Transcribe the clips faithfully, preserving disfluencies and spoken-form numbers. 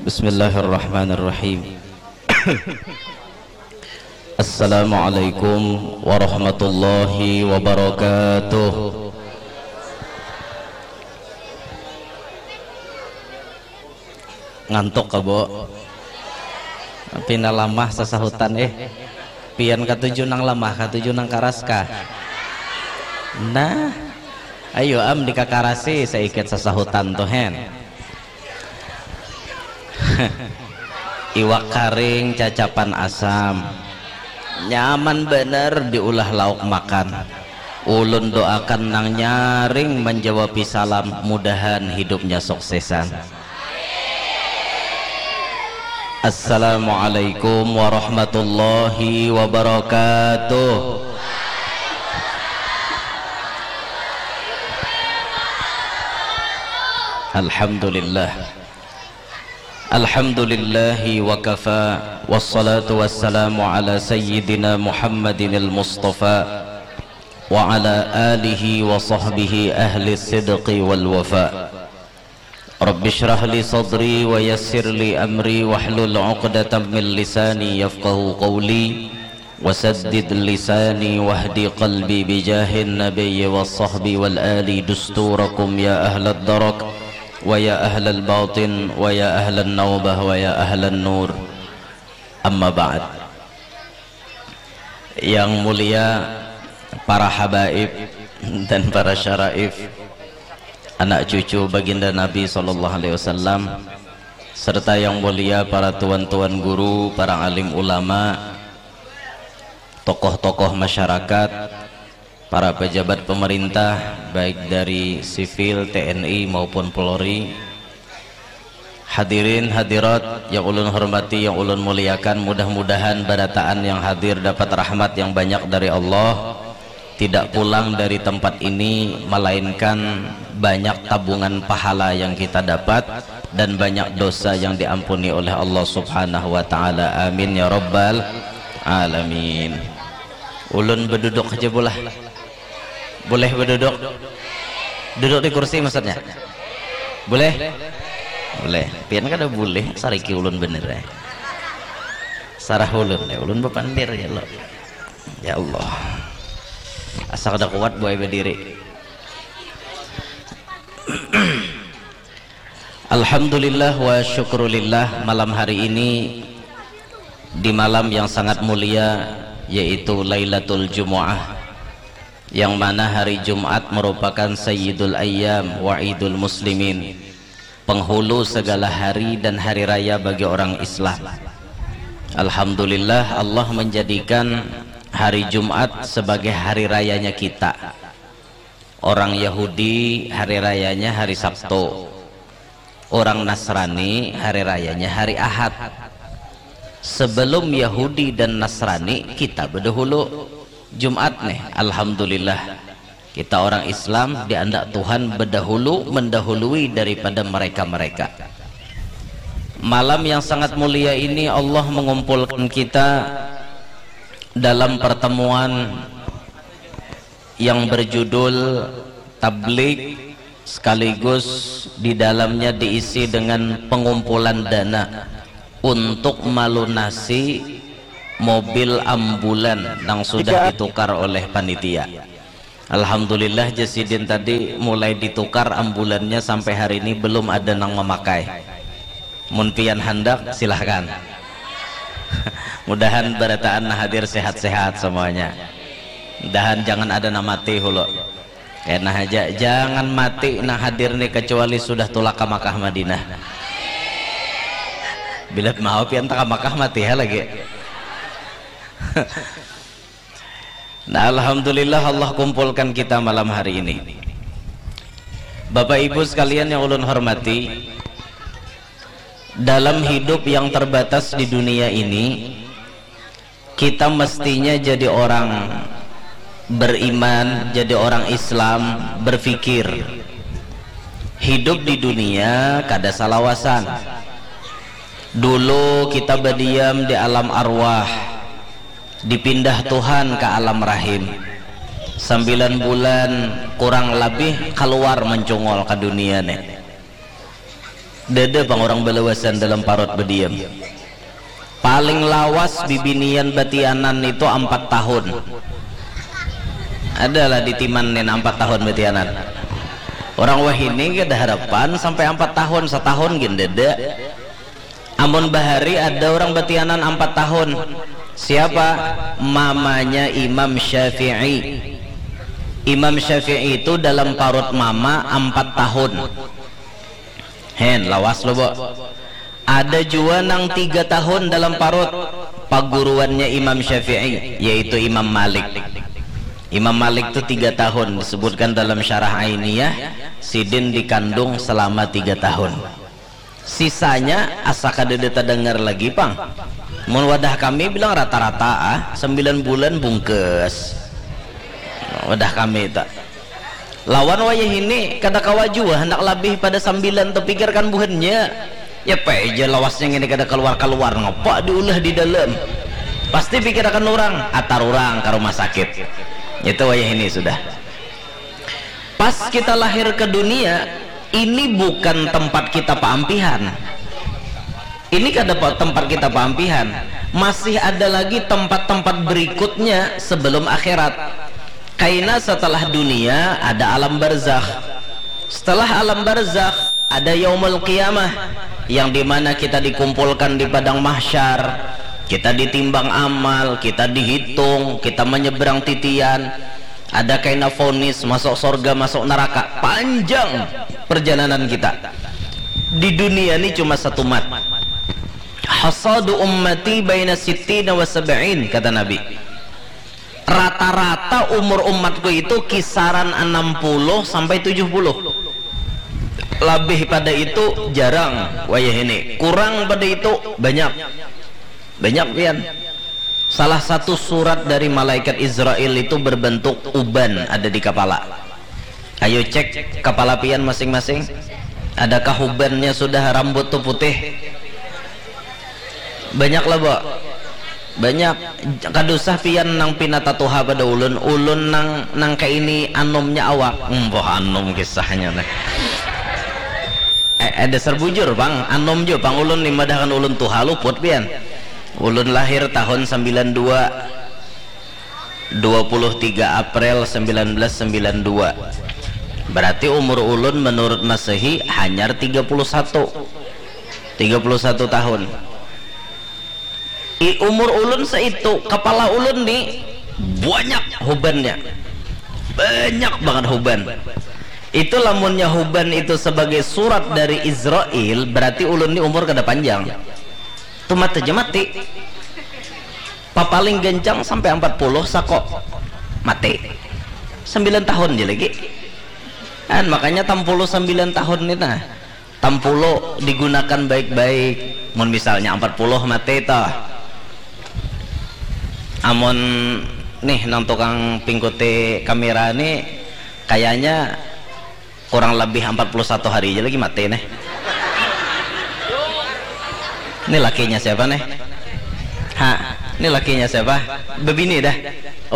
Bismillahirrahmanirrahim. Assalamualaikum warahmatullahi wabarakatuh. Ngantuk ka, Bo? Pina lamah sasahutan, eh. Pian katuju nang lamah, katuju nang karas kah? Nah, ayo am dikakarasi saikit sasahutan tuh, hen. Iwak karing cacapan asam. Nyaman banar diulah lauk makan. Ulun doakan nang nyaring manjawabi salam, mudahan hidupnya suksesan. Assalamualaikum warahmatullahi wabarakatuh. Alhamdulillah. Alhamdulillahi wa kafa, wassalatu wassalamu ala sayyidina Muhammadinil Mustafa, wa ala alihi wa sahbihi ahli sidqi wal wafa. Rabbi shrah li sadri wa yassir li amri wahlul uqdatam min lisani yafqahu qawli, wa saddid lisani wahdi qalbi bijahin nabiyyi wa sahbi wal ali dusturakum ya ahlad darak wa ya ahlal batin wa ya ahlan naubah wa ya ahlan nur. Amma ba'd. Yang mulia para habaib dan para syaraif, anak cucu baginda Nabi sallallahu alaihi wasallam, serta yang mulia para tuan-tuan guru, para alim ulama, tokoh-tokoh masyarakat, para pejabat pemerintah, baik dari sipil, T N I, maupun Polri, hadirin hadirat yang ulun hormati, yang ulun muliakan, mudah-mudahan barataan yang hadir dapat rahmat yang banyak dari Allah, tidak pulang dari tempat ini melainkan banyak tabungan pahala yang kita dapat dan banyak dosa yang diampuni oleh Allah Subhanahu wa taala. Amin ya rabbal alamin. Ulun beduduk aja boleh. Boleh beduduk? Duduk di kursi maksudnya? Boleh? Boleh. Pian kada boleh, sariki ulun bener ya. Sarah ulun ya, ulun bepandir ya lo. Ya Allah. Asa kada kuat buai bediri. Alhamdulillah wa syukrulillah, malam hari ini di malam yang sangat mulia, yaitu Lailatul Jumu'ah, yang mana hari Jumat merupakan Sayyidul Ayyam wa Idul Muslimin, penghulu segala hari dan hari raya bagi orang Islam. Alhamdulillah, Allah menjadikan hari Jumat sebagai hari rayanya kita. Orang Yahudi hari rayanya hari Sabtu. Orang Nasrani hari rayanya hari Ahad. Sebelum Yahudi dan Nasrani, kita bedahulu Jumat nih. Alhamdulillah, kita orang Islam diandak Tuhan bedahulu, mendahului daripada mereka-mereka. Malam yang sangat mulia ini Allah mengumpulkan kita dalam pertemuan yang berjudul tablig, sekaligus di dalamnya diisi dengan pengumpulan dana untuk melunasi mobil ambulan yang sudah ditukar oleh panitia. Alhamdulillah, jasidin tadi mulai ditukar ambulannya, sampai hari ini belum ada nang memakai. Mun pian handak, silahkan. Mudahan barataan nah hadir sehat-sehat semuanya. Mudahan jangan ada nang mati hulu. Kena haja, jangan mati nang hadir nih kecuali sudah tulak ke Makkah Madinah. Bila mau pian tak ke Makkah, mati ya lagi. Nah, alhamdulillah Allah kumpulkan kita malam hari ini. Bapak Ibu sekalian yang ulun hormati, dalam hidup yang terbatas di dunia ini, kita mestinya jadi orang beriman, jadi orang Islam, berpikir. Hidup di dunia kada salawasan. Dulu kita badiam di alam arwah, dipindah Tuhan ka alam rahim. Sambilan bulan kurang labih kaluar mancungul ka dunia nih. Dada pang orang balawasan dalam parut badiam. Paling lawas bibinian batianan itu ampat tahun. Adalah di timan nin ampat tahun batianan. Orang wahini kada harapan sampai ampat tahun, satahun gin dada. Amun bahari ada orang batianan ampat tahun. Siapa? Mamanya Imam Syafi'i. Imam Syafi'i itu dalam parut mama ampat tahun. Hen, lawas lo, Bo. Ada jua nang tiga tahun dalam parut, paguruannya Imam Syafi'i, yaitu Imam Malik. Imam Malik tu tiga tahun, disebutkan dalam Syarah Ainiyah, sidin dikandung selama tiga tahun. Sisanya asa kadada tadangar lagi pang. Mun wadah kami bilang rata-rata ah, sembilan bulan bungkus. Wadah kami tak. Lawan wayah ini kada kawa jua handak labih pada sambilan tu, pikirkan buhannya. Ya peja lawasnya ngini kada kaluar-kaluar, ngapa diulah di dalam. Pasti pikirakan orang, atar orang ka rumah sakit. Itu wayah ini sudah. Pas kita lahir ke dunia, ini bukan tempat kita paampihan. Ini kada pa- tempat kita paampihan. Masih ada lagi tempat-tempat berikutnya sebelum akhirat. Kaina setelah dunia ada alam barzakh. Setelah alam barzakh ada yaumul qiyamah, yang dimana kita dikumpulkan di padang mahsyar. Kita ditimbang amal, kita dihitung, kita menyeberang titian. Ada kaina vonis masuk sorga, masuk neraka. Panjang perjalanan kita. Di dunia ni cuma satu mat. Hasadu ummati baina sittina wa sab'in, kata Nabi. Rata-rata umur umatku itu kisaran enam puluh sampai tujuh puluh. Lebih pada itu jarang wayah ini. Kurang pada itu banyak. Banyak pian. Salah satu surat dari malaikat Israel itu berbentuk uban ada di kepala. Ayo cek kepala pian masing-masing. Adakah ubannya sudah rambut tu putih? Banyak lah, Bo. Banyak. Kada usah pian nang pina tatuha pada ulun. Ulun nang nang kaini anumnya awak. Emboh anum kisahnya nih. Eh, eh, dasar bujur, Bang. Anum jo, Bang. Ulun ni madahkan ulun tuha luput pian. Ulun lahir tahun sembilan dua. Dua puluh tiga April sembilan belas sembilan dua. Berarti umur ulun menurut Masehi hanyar tiga puluh satu. Tiga puluh satu tahun. I umur ulun saitu, kepala ulun ni banyak hubannya. Banyak banget huban. Itu lamunnya huban itu sebagai surat dari Israel, berarti ulun ni umur kada panjang. Tumat aja mati. Papaling gancang sampai empat puluh sako. Mati. Sembilan tahun je lagi. Kan makanya tampulu sembilan tahun ni nah. Tampulu digunakan baik-baik. Mun misalnya empat puluh mati toh. Amun nih nang tukang pingkuti kamera ni kayaknya kurang lebih empat puluh satu hari aja lagi mati nih. Ini lakinya siapa nih? Ha, ini lakinya siapa? Bebini dah.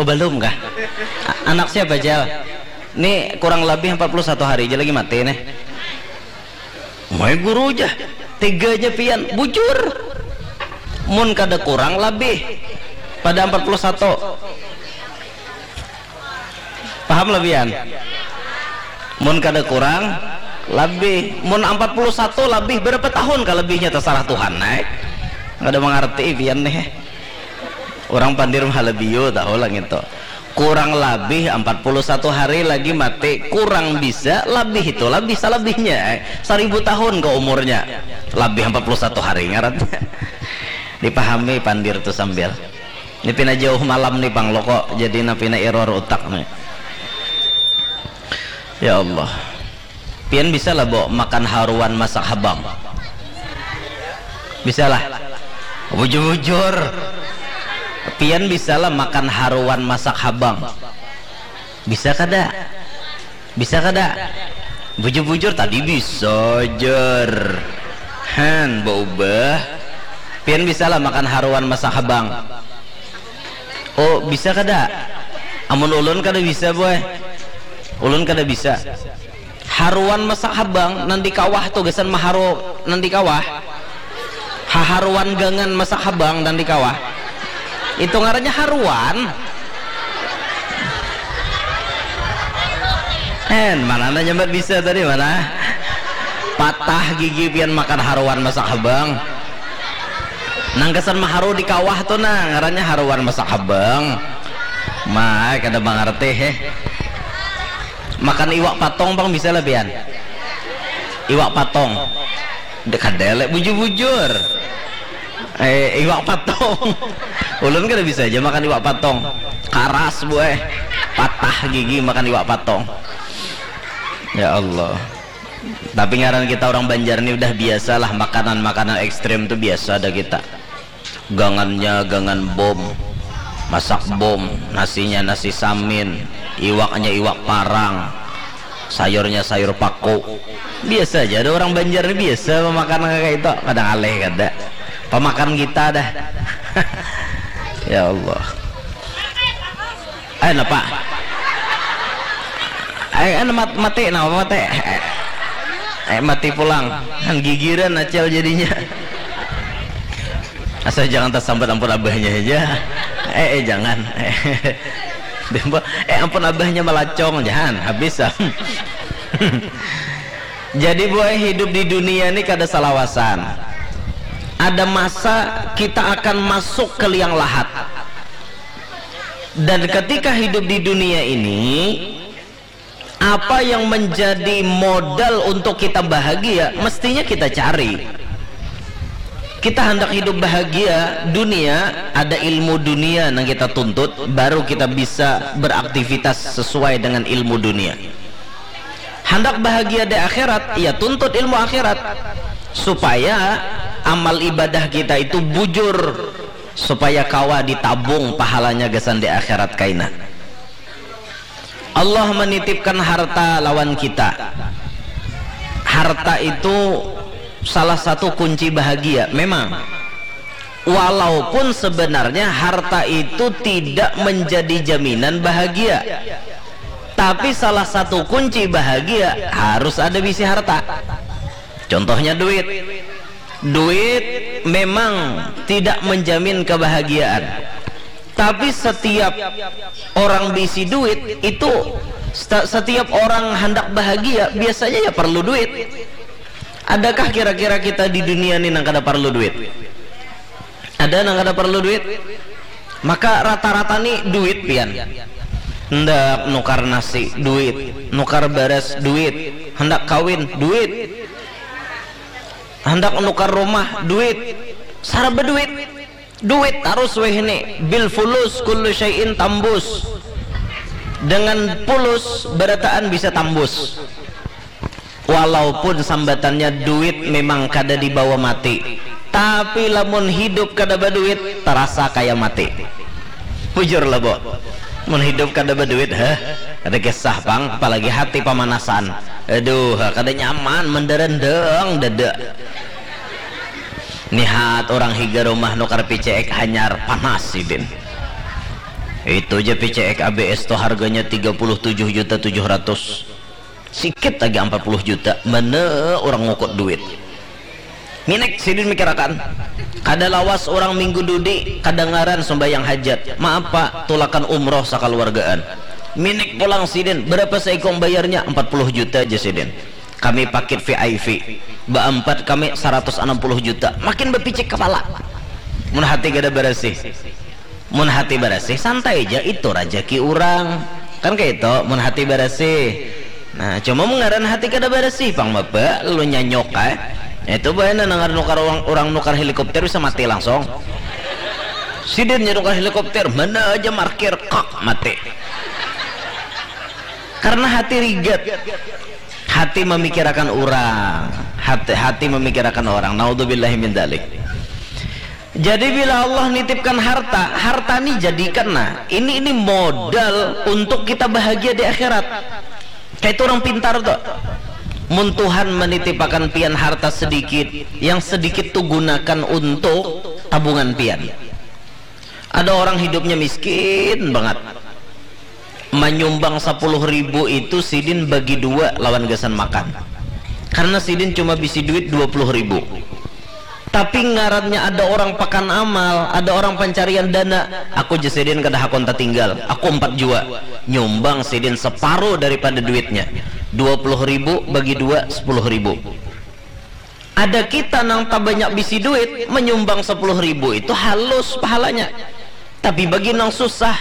Oh, belum kah? A- anak siapa, Jal? Ini kurang lebih empat puluh satu hari aja lagi mati nih. Mai guru aja. Teganya pian, bujur. Mun kada kurang lebih pada empat puluh satu. Paham lebihan? Mun kada kurang lebih, mun empat puluh satu lebih, berapa tahun ka lebihnya, terserah Tuhan, naik. Kada mengerti pian nih. Orang pandir mahalabiu tahu lah gitu. Kurang lebih empat puluh satu hari lagi mati, kurang bisa, lebih itu lebih salebihnya, eh. Seribu tahun ke umurnya. Lebih empat puluh satu hari ngaran. Dipahami pandir tu sambil. Ini pina jauh malam nih, Bang, lo kok jadi na pina error utak nih. Ya Allah. Pian bisa lah, Bo, makan haruan masak habang? Bisa lah. Bujur-bujur. Pian bisa lah makan haruan masak habang? Bisa kada? Bisa kada? Bujur-bujur tadi bisa, jer. Han, baubah. Pian bisa lah makan haruan masak habang? Oh, bisa kada? Amun ulun kada bisa, boy. Ulun kada bisa. Haruan masak habang nang di kawah tu gasan maharu nang di kawah. Haharuan gangan masak habang nang di kawah. Itu ngarannya haruan. En, mana nanya nyambat bisa tadi mana? Patah gigi pian makan haruan masak habang. Nang gasan maharu di kawah tu nah ngarannya haruan masak habang. Mai kada mangarti heh. Makan iwak patong pang bisa lah pian. Iwak patong. Kada lek bujur-bujur. Eh, iwak patong. Ulun kada bisa aja makan iwak patong. Karas buai. Patah gigi makan iwak patong. Ya Allah. Tapi ngaran kita orang Banjar ni udah biasalah makanan-makanan ekstrim tu biasa ada kita. Gangannya gangan bom, masak bom, nasinya nasi samin, iwaknya iwak parang, sayurnya sayur paku. Biasa aja ada orang Banjar ni biasa memakan kayak itu. Kadang aleh kada. Pemakan kita dah. Ya Allah. Eh napa? Eh anu mat, mati napa mati? Eh, eh mati pulang. Kan gigiran acel jadinya. Asal jangan tersambat ampun abahnya aja. Eh, eh jangan. Dembo, eh ampun abahnya melacong jangan habis am. Jadi buai hidup di dunia ini kada salawasan. Ada masa kita akan masuk ke liang lahat. Dan ketika hidup di dunia ini, apa yang menjadi modal untuk kita bahagia, mestinya kita cari. Kita hendak hidup bahagia, dunia, ada ilmu dunia yang kita tuntut, baru kita bisa beraktivitas sesuai dengan ilmu dunia. Hendak bahagia di akhirat, ya tuntut ilmu akhirat. Supaya amal ibadah kita itu bujur, supaya kawa ditabung pahalanya gasan di akhirat kaina. Allah menitipkan harta lawan kita. Harta itu salah satu kunci bahagia memang. Walaupun sebenarnya harta itu tidak menjadi jaminan bahagia. Tapi salah satu kunci bahagia harus ada bisi harta. Contohnya duit. Duit memang tidak menjamin kebahagiaan. Tapi setiap orang bisi duit itu setiap orang hendak bahagia biasanya ya perlu duit. Adakah kira-kira kita di dunia ini nang kada perlu duit? Ada nang kada perlu duit? Maka rata-rata nih duit pian. Hendak nukar nasi duit, nukar beras duit, hendak kawin duit, hendak nukar rumah duit, saraba duit. Duit tarus weh ini, bil fulus kullu syai'in tambus. Dengan pulus barataan bisa tambus. Walaupun sambatannya duit memang kada dibawa mati, tapi lamun hidup kada baduit terasa kaya mati. Bujur lah bo, mun hidup kada baduit heh, ada kisah pang, apalagi hati pamanasan. Aduh, kada nyaman menderendeng dada. Nihat orang higa rumah nukar P C X hanyar panas sidin. Itu aja P C X A B S tuh harganya tiga puluh tujuh juta tujuh ratus. Sikit lagi empat puluh juta. Mana orang ngukut duit. Minik sidin mikirakan. Kada lawas orang minggu dudi kadangaran sembahyang hajat. Maaf pak, tulakan umroh sakaluargaan. Minik pulang sidin, berapa seikung bayarnya? Empat puluh juta aja sidin. Kami paket V I P. Baempat kami seratus enam puluh juta. Makin bepicik kepala. Mun hati kada barasih. Mun hati barasih santai ja itu rajaki urang. Kan kaitu mun hati barasih. Nah, cuma mun ngaran hati kada barasih pang bapa lalu nyanyok ai. Itu bae nah nangar nukar urang, urang nukar helikopter bisa mati langsung. Sidin nya nukar helikopter, mana aja markir kak mati. Karena hati rigat. Hati memikirakan urang. Hati, hati memikirakan orang. Naudzubillahi min dzalik. Jadi bila Allah nitipkan harta, harta ni jadikan nah, ini ini modal untuk kita bahagia di akhirat. Kayak itu orang pintar tuh. Mun Tuhan menitipakan pian harta sedikit, yang sedikit tuh gunakan untuk tabungan pian. Ada orang hidupnya miskin banget. Manyumbang sapuluh ribu itu sidin bagi dua lawan gasan makan. Karena sidin cuma bisi duit dua puluh ribu. Tapi ngarannya ada orang pakan amal, ada orang pancarian dana. Aku jar sidin kada hakun tatinggal. Aku empat jua. Nyumbang sidin separuh daripada duitnya. Dua puluh ribu bagi dua, sepuluh ribu. Ada kita nang tabanyak bisi duit, menyumbang sepuluh ribu itu halus pahalanya. Tapi bagi nang susah,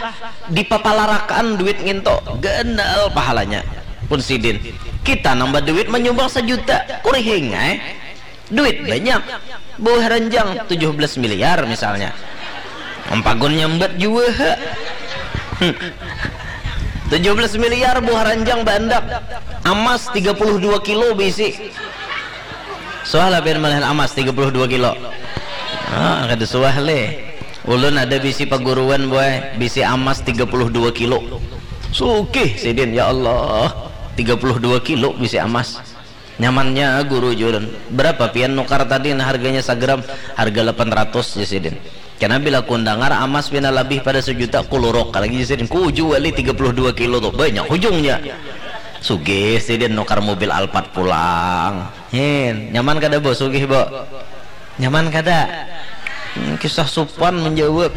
dipapalarakan duit nginto, ganal pahalanya. Pun sidin, kita nang baduit menyumbang sejuta, kurihing ai. Duit banyak, buah ranjang tujuh belas miliar misalnya. Ampagun nyambat jua ha. Hmm. Tujuh belas miliar buah ranjang bandak, amas tiga puluh dua kilo bisi. Suah lah pian malihan amas tiga puluh dua kilo. Ah, kada suah leh. Ulun ada bisi paguruan, boy, bisi amas tiga puluh dua kilo. Sugih sidin, ya Allah. Tiga puluh dua kilo bisi amas. Nyamannya guru jar ulun. Berapa pian nukar tadi, nah, harganya sagram? Harga lapan ratus jar sidin. Kena bila kundangar amas pina labih pada sejuta, kuluruk lagi jar sidin. Kuju wali tiga puluh dua kilo tu, banyak hujungnya. Sugih sidin nukar mobil Alphard pulang. Hin, nyaman kada, Bo? Sugih, Bo? Nyaman kada? Hmm, kisah supan menjawab.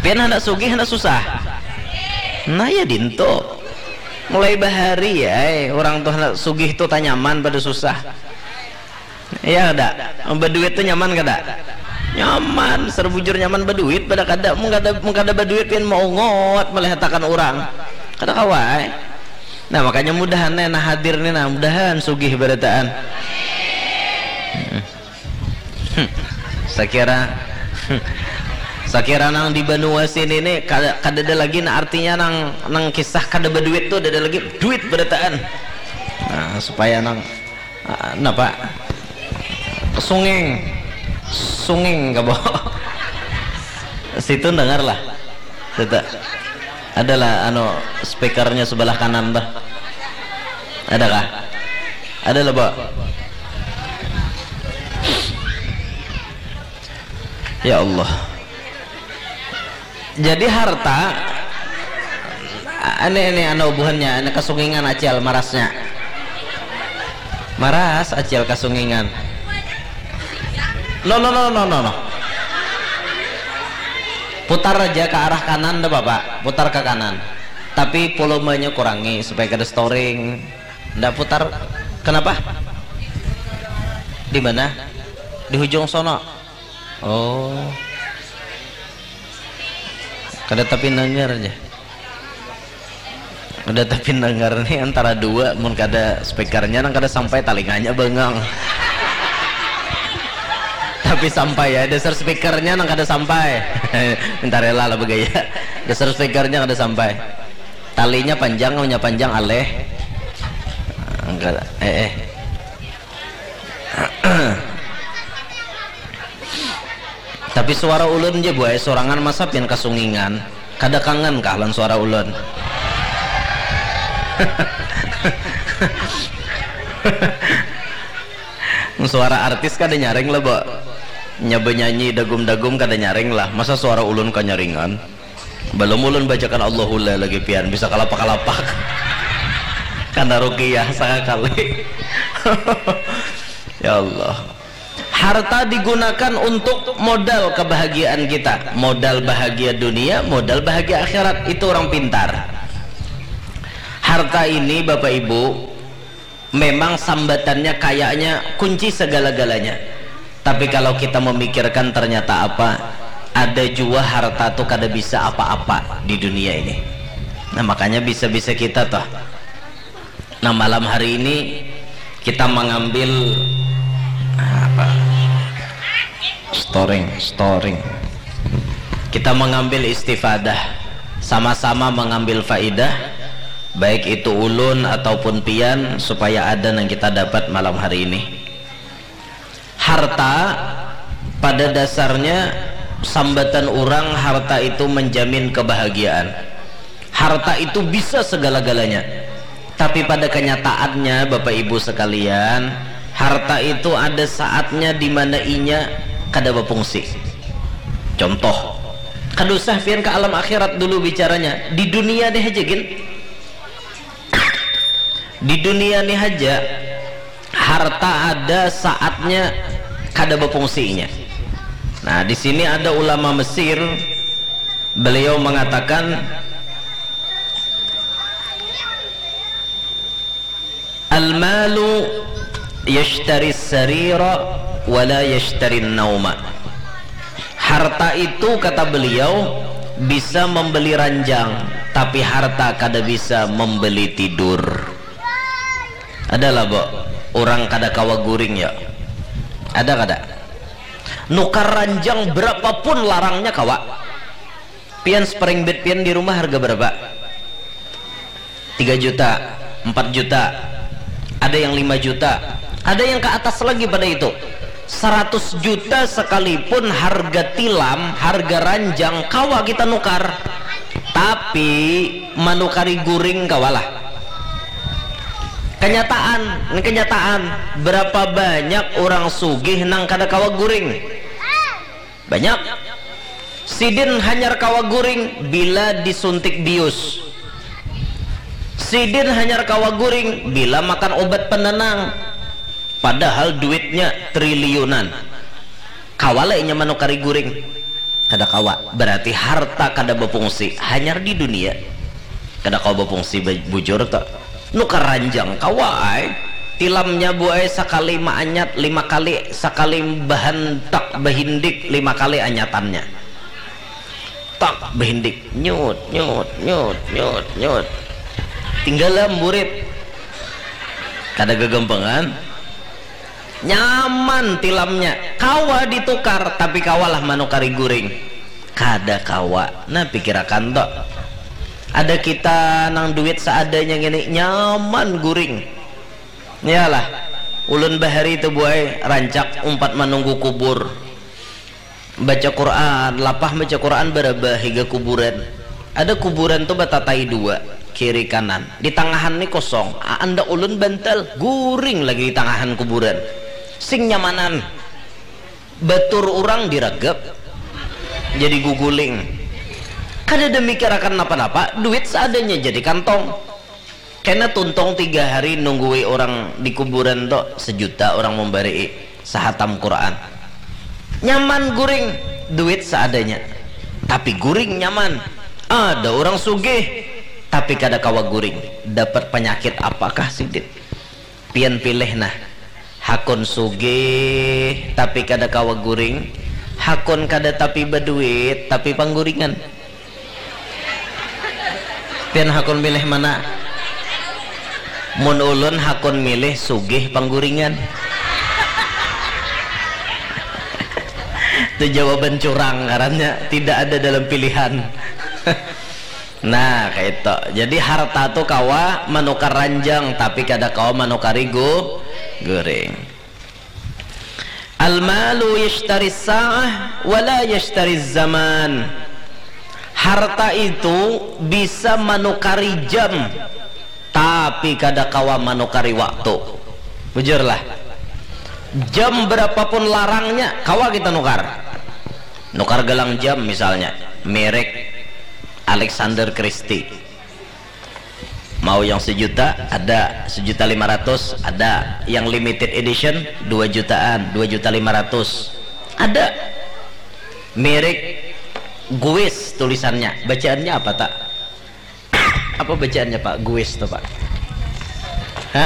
Pian handak sugih, handak susah? Nah, ya dinto. Mulai bahari ya, eh, orang tuh handak sugih tuh tanyaman pada susah. Iya kada? Baduit tuh nyaman kada? Nyaman, serbujur nyaman baduit pada kada. Mun kada, mun kada baduit pian maungut malihatakan urang. Kada kawa ai. Nah, makanya mudahan nih, nah, hadir nih, nah, mudahan sugih barataan. Hmm. Hmm. Sakira, hmm. Sakira nang di banua sini nih kada, kadada lagi, nah, artinya nang, nang kisah kada baduit tuh, ada lagi duit barataan. Nah, supaya nang Ah, napa? Sungeng. Sungeng kabo. Situ dengar lah. Situ. Adalah anu speakernya sebelah kanan tuh. Adakah? Ada lah, Bo. Ya Allah. Jadi harta, ini, ini anu buhannya, ini kasungingan acil marasnya. Maras acil kasungingan. No, no, no, no, no, no. Putar aja ke arah kanan, ndak apa-apa. Putar ke kanan. Tapi volumenya kurangi supaya kada storing. Ndak putar. Kenapa? Di mana? Di hujung sono. Oh. Kada tapi nangar aja. Kada tapi nangar nih antara dua, mun kada speakernya nang kada sampai, talinganya bengang. Tapi sampai ya, dasar speakernya nang kada sampai. Minta rela lah begaya. Dasar speakernya kada sampai. Talinya panjang, punya panjang aleh. Angkat, eh, eh. Tapi suara ulun je buai sorangan masa pian kasungingan. Kada kangen kah lan suara ulun? Suara artis kada nyaring lah, Bo. Nya benyanyi dagum-dagum kada nyaring lah. Masa suara ulun kanyaringan? Balum ulun bacakan Allahullah lagi pian bisa kalapak-kalapak. Kana rukiah sakakali. Ya Allah. Harta digunakan untuk modal kebahagiaan kita. Modal bahagia dunia, modal bahagia akhirat. Itu orang pintar. Harta ini, Bapak Ibu, memang sambatannya kayaknya kunci segala-galanya. Tapi kalau kita memikirkan, ternyata apa? Ada jua harta tuh kada bisa apa-apa di dunia ini. Nah, makanya bisa-bisa kita toh. Nah, malam hari ini kita mengambil apa? Storing, storing. Kita mengambil istifadah, sama-sama mengambil faidah, baik itu ulun ataupun pian, supaya ada yang kita dapat malam hari ini. Harta pada dasarnya sambatan orang, harta itu menjamin kebahagiaan. Harta itu bisa segala-galanya. Tapi pada kenyataannya, Bapak Ibu sekalian, harta itu ada saatnya di mana inya kada berfungsi. Contoh, Kada usah pian ke alam akhirat dulu bicaranya, di dunia nih aja gin. Di dunia nih aja, harta ada saatnya kada befungsinya. Nah, di sini ada ulama Mesir, beliau mengatakan, "Al-malu yashtari sarira wala yashtari nauma." Harta itu, kata beliau, bisa membeli ranjang, tapi harta kada bisa membeli tidur. Adalah, bo, orang kada kawa guring, ya? Ada kada? Nukar ranjang berapapun larangnya kawa. Pian spring bed pian di rumah harga berapa? Tiga juta, empat juta, ada yang lima juta, ada yang ke atas lagi pada itu. Seratus juta sekalipun harga tilam, harga ranjang, kawa kita nukar. Tapi manukari guring kawalah. Kenyataan, ini kenyataan. Berapa banyak orang sugih nang kada kawa guring? Banyak. Sidin hanyar kawa guring bila disuntik bius. Sidin hanyar kawa guring bila makan obat penenang. Padahal duitnya triliunan. Kawa lah inya manukari guring? Kada kawa. Berarti harta kada befungsi, hanyar di dunia. Kada kawa befungsi, bujur tu. Nukar ranjang kawa ai. Tilamnya, bu ai, sakali maanyat lima kali, sakali bahantak bahindik lima kali anyatannya. Tak, bahindik, nyut, nyut, nyut, nyut, nyut. Tinggal lah murid. Kada gagampangan. Nyaman tilamnya, kawa ditukar, tapi kawalah manukari guring? Kada kawa. Nah, pikirakan tu. Ada kita nang duit seadanya ngini, nyaman guring. Iyalah, ulun bahari tu, bu ai, rancak umpat manunggu kubur. Baca Quran, lapah baca Quran barabah higa kuburan. Ada kuburan tu batatai dua, kiri kanan. Di tangahan ni kosong. Anda ulun bantal, guring lagi di tangahan kuburan. Sing nyamanan. Batur urang diragap. Jadi guguling. Kada ada mikirakan napa-napa, duit seadanya jadi kantong. Kena tuntung tiga hari nunggui orang di kuburan tu, sejuta orang membari sahatam Quran. Nyaman guring, duit seadanya. Tapi guring nyaman. Ada orang sugih, tapi kada kawa guring. Dapat penyakit apakah sidin? Pian pilih nah. Hakun sugih, tapi kada kawa guring. Hakun kada tapi baduit, tapi pangguringan. Pian hakun milih mana? Mun ulun hakun milih sugih pangguringan. Itu jawaban curang, karena tidak ada dalam pilihan. Nah, kaitu. Jadi harta tu kawa manukar ranjang, tapi kada kawa manukari gu-, guring. Al-malu yashtari sa'ah wala yashtari zaman. Harta itu bisa manukari jam, tapi kada kawa manukari waktu. Bujurlah. Jam berapapun larangnya, kawa kita nukar. Nukar gelang jam misalnya, merek Alexander Christie. Mau yang sejuta, ada. Sejuta lima ratus, ada. Yang limited edition, dua jutaan, dua juta lima ratus, ada. Merek Guess tulisannya. Bacaannya apa, tak? Apa bacaannya, Pak? Guess tuh, Pak.